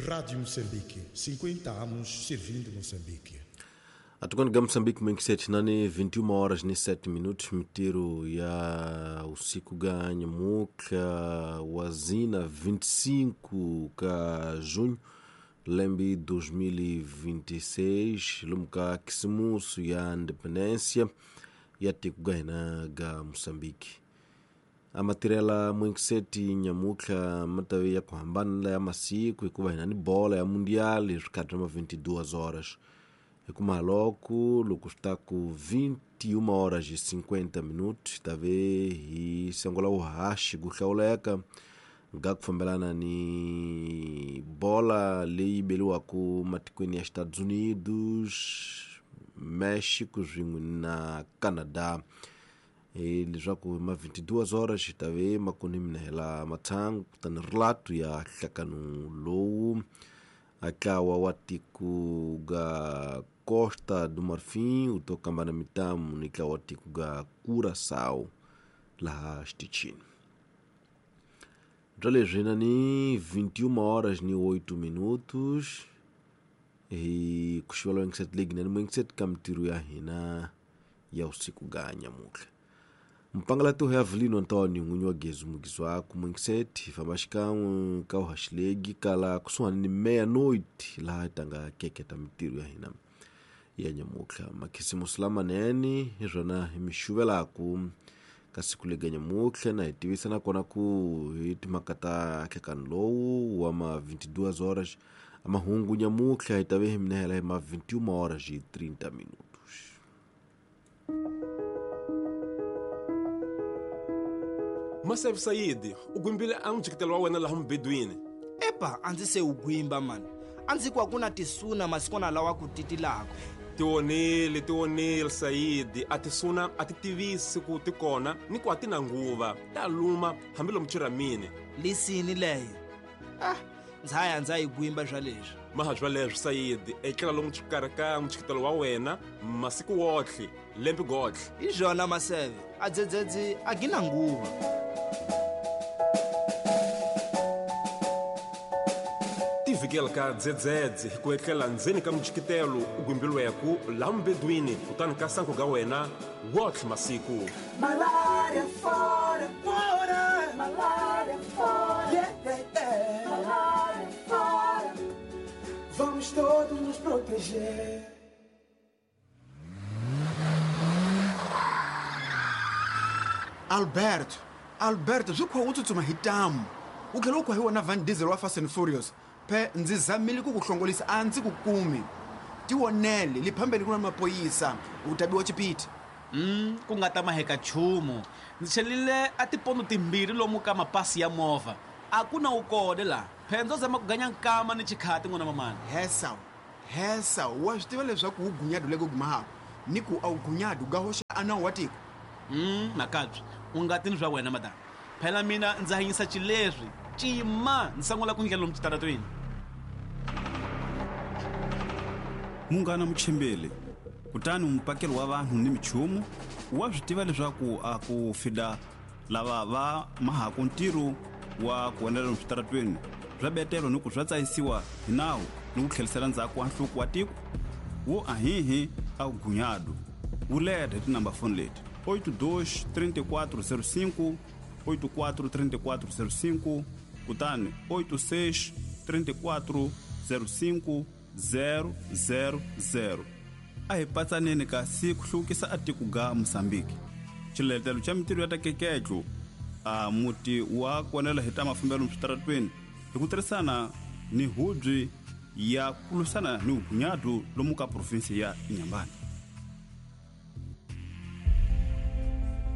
Rádio Moçambique, 50 anos servindo Moçambique. Atukani ga Moçambique mwenkiseti nani 21 horas ni 7 minutos mitiro ya usiku ga nyamuka wazina 25 ka junho lembi 2026 lumuka kisimusu ya independência ya tiku ga ga Moçambique. Amatirela mwenkiseti nyamuka matawe ya kuhambana ya masiku ikuva hina ni bola ya mundial rikati ma 22 horas. Ekumaloko loko está com 21 horas e 50 minutos tave hi sengola uhashi kuhlawuleka nga kufambelana ni bola leyi beliwaku matikweni ya Estados Unidos, México swin'we na Canadá. Leswaku ma 22 horas tave makuni minehela mathangu kutani relato ya nhlakano lowu atlawa wa tiko ga Costa do Marfim utokamba na mitamu ni tlawa wa tiko ga Curaçao laha xitichini. Bya leswi na ni 21 horas ni 8 minutos hi kuxivela Wenxet League na ni Wenxet ka mitirho ya hina ya usiku ga nyamutlha. Mpangalatu ya Avelino Antonio n'winyi wa Gezu mugizwaku Mwenxet hi famba xikan'we ka uhaxilegi kala kusuhani ni meia-noite laha hi tanga keketa mitirho ya hina ya nyamutlha. Makhisimusi lamanene hi swona hi mi xuvelaku ka siku lega nyamutlha na hi tivisa nakona ku hi timhaka ta nhlekani lowu wa ma 22 horas a mahungu nyamutlha hi ta ve hi minehela hi ma 21 horas e 30 minutos. Maseve Saidi, u gwimbile a mujikitelo wa wena laha mubedwini. Epa, a ndzi se u gwimba mani. A ndzi ku a ku na tisuna masikwana lawa ku titilaka. Tionile Saidi, a tisuna a ti tivisi ku ti kona ni ku a ti na nguva. Ta luma hambi lomu chiramini. Lisini leyo. Ah, ndza ya ndza yi gwimba swa leswi. Maha swa leswi Saidi, etlela lomu xikarhi ka mujikitelo wa wena masiku wotlhe, lembe gotlhe. Hi swona Maseve, a dzedzedzi a gina nguva. Tivikela ka dzedzedze hi ku etlela ndzeni ka mujikitelo u gwimbilweku laha mubedwini kutani ka sanku ga wena wotlhe masiku. Malaria fora, fora, malaria fora, yeah, yeah, yeah. Malaria fora, vamos todos nos proteger. Alberto, swi khwa u tsutsuma hi ntamu. U tlhela u khwa hi wona Van Diesel wa Fast and Furious. Phe ndzi zamile ku ku hlongolisa a ndzi ku kumi. Tionele liphambeni ku na mapoyisa u ta biwa chipiti. Ku nga ta maheka nchumu. Ndzi chelile a tipondo timbirhi lomu ka mapasi ya movha. A ku na ukode la. Phe ndzo zama ku ganya nkama ni chikhati n'wana mamani. Hesa, wa swi tiva leswaku wu gunyadu leko gumahako ni ku a wu gunyadu ga hoxa a nawu wa tiko. Makabyi, u nga tini swa wena madam. Phela mina ndzi hanyisa xileswi. Cima ndzi sangula ku ndlela lomu xitaratweni. Munghana Muchimbeli, kutani mupakeli wa vanhu ni michumu wa swi tiva leswaku a ku fida lava va mahaku ntirho wa ku onela lomu switaratweni swa betelo ni ku swa tsayisiwa hi nawu ni ku tlherisela ndzhaku wa nhluku wa tiko wo ahihi a ku gunyadu wu leta hi tinamba foni leti 82 34 05 84 34 05 kutani 86 34 05 000. A hi patsaneni kasi ku hluvukisa a tiko ga Mozambique. Xiletelo xa mitirho ya ta keketlo a muti wa kuonela hi ta mafambelo switaratweni hi ku tirhisana ni hubyi ya ku lwisana ni vugunyadu lomu ka provinsi ya Inhambane.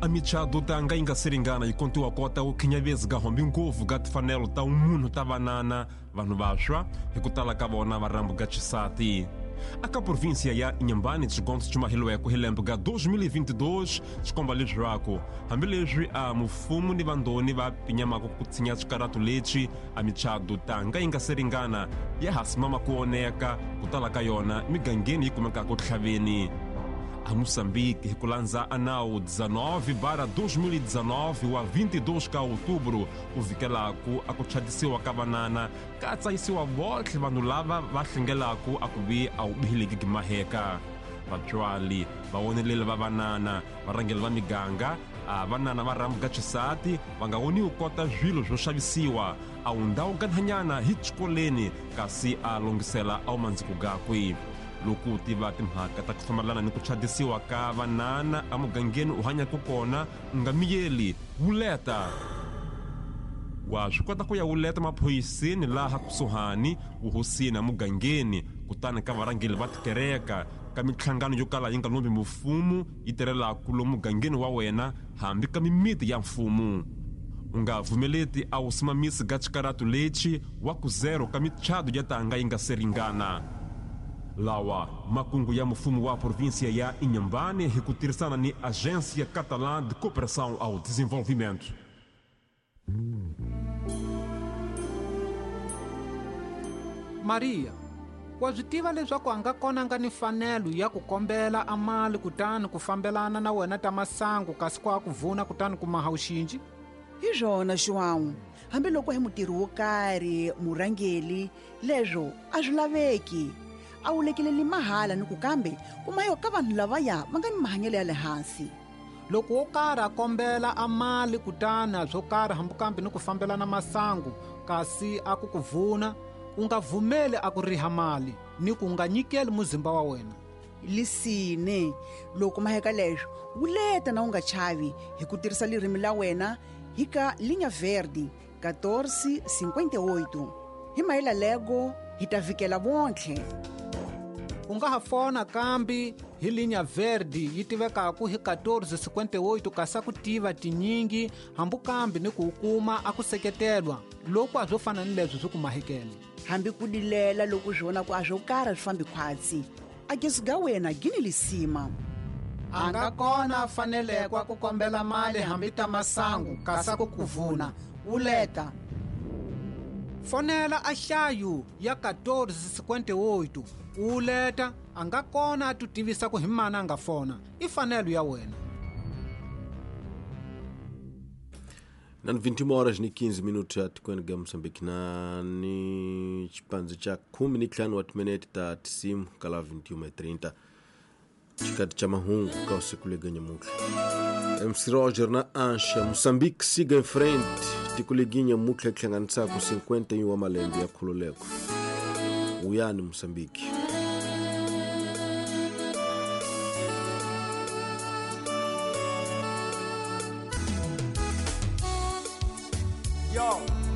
A michado tanga yi nga siringana yi kontiwa kota ku khinyavezi ga hombi ngopfu ga tifanelo ta munhu ta vanana vanhu vantshwa hi ku tala ka vona va rambu ga xisati. Aka província ya Inhambane xigondzo xi mahilweko hi lembe ga 2022 xikomba leswaku hambileswi a mufumo ni vandoni va pinyamaka ku tshinya swikaratu leswi a michado tanga yi nga siringana ya ha simama ku oneka ku tala ka yona migangeni yi kumekaka tlhaveni. A Moçambique hi ku landza a nawu 19/2019 wa 22 ka outubro ku vikelaku a ku chadisiwa ka vanana ka tsayisiwa votlhe vanhu lava va hlengelaku a ku vi a wu bihileki gimaheka. Vatswali vawoneleli va vanana varhangeli va miganga a vanana va rhambuka xisati va nga voniwi kota swilo swo xavisiwa a wu ndhawu kanhanyana hi xikoleni kasi a longhisela a wu mandziko gakwe. Loko u tiva timhaka ta ku fambelana ni ku chadisiwa ka vanana emugangeni u hanyaka kona u nga miyeli wuleta. Wa swi kota ku ya wuleta maphoyiseni laha kusuhani vuhosini emugangeni kutani ka varhangeli va tikereka ka minhlangano yo kala yi nga lombi mfumo yi tirhelaku lomu mugangeni wa wena hambi ka mimiti ya mfumo. U nga pfumeleti a wu simamisi ka xikaratu lexi wa ku zero ka michado ya tanga yi nga se ringana. Lawa makungu ya mfumo wa província ya Inhambane hi ku tirhisana ni Agência Catalã de Cooperação ao Desenvolvimento. Maria, wa swi tiva leswaku a nga kona nga ni fanelo ya ku kombela a mali kutani ku fambelana na wena ta masangu kasi ku a ku vuna kutani ku maha wuxinji? Hi swona João, hambiloko hi mutirhi wo karhi murhangeli leswo a swi laveki. A wu lekeleli mahala ni ku kambe kuma yo ka vanhu lavaya va nga ni mahanyelo ya le hansi. Loko wo karhi a kombela a mali kutani swo karhi hambi kambe ni ku fambelana masangu kasi a ku ku vuna, u nga vumeli a ku riha mali ni ku nga nyikeli muzimba wa wena. Lisine loko maheka leswo wuleta na u nga chavi hi ku tirhisa lirimi la wena hi ka Linha Verde 1458. Hi mahela lego hi ta vikela vontlhe. U nga ha fona kambi hi Linha Verde yi tivekaku hi 1458 kasi a ku tiva tinyingi hambi kambi ni ku kuma a ku seketelwa loko a swo fana ni leswi swi ku mahekele. Hambi ku dilela loko swi vona ku a swo karhi swi fambi khwatsi a gezi ga wena gini lisima. A nga kona fanelekwa ku kombela mali hambi ta masangu kasi a ku ku vuna wuleta. Fonela a hlayu ya 1458 wuleta a nga kona a tutivisa ku hi mana a nga fona i fanelo ya wena. Na 21 horas ni 15 minutos ya tikweni ga Moçambique na ni xipandzo xa 15 wa timinete ta tisimu kala 21:30 xikati xa mahungu ka usiku lega nyamutlha. MC Roger na Ancha Moçambique siga em frente tiko leginya mutlha hlanganisaku 51 wa malembe ya khululeko. Uyani Moçambique.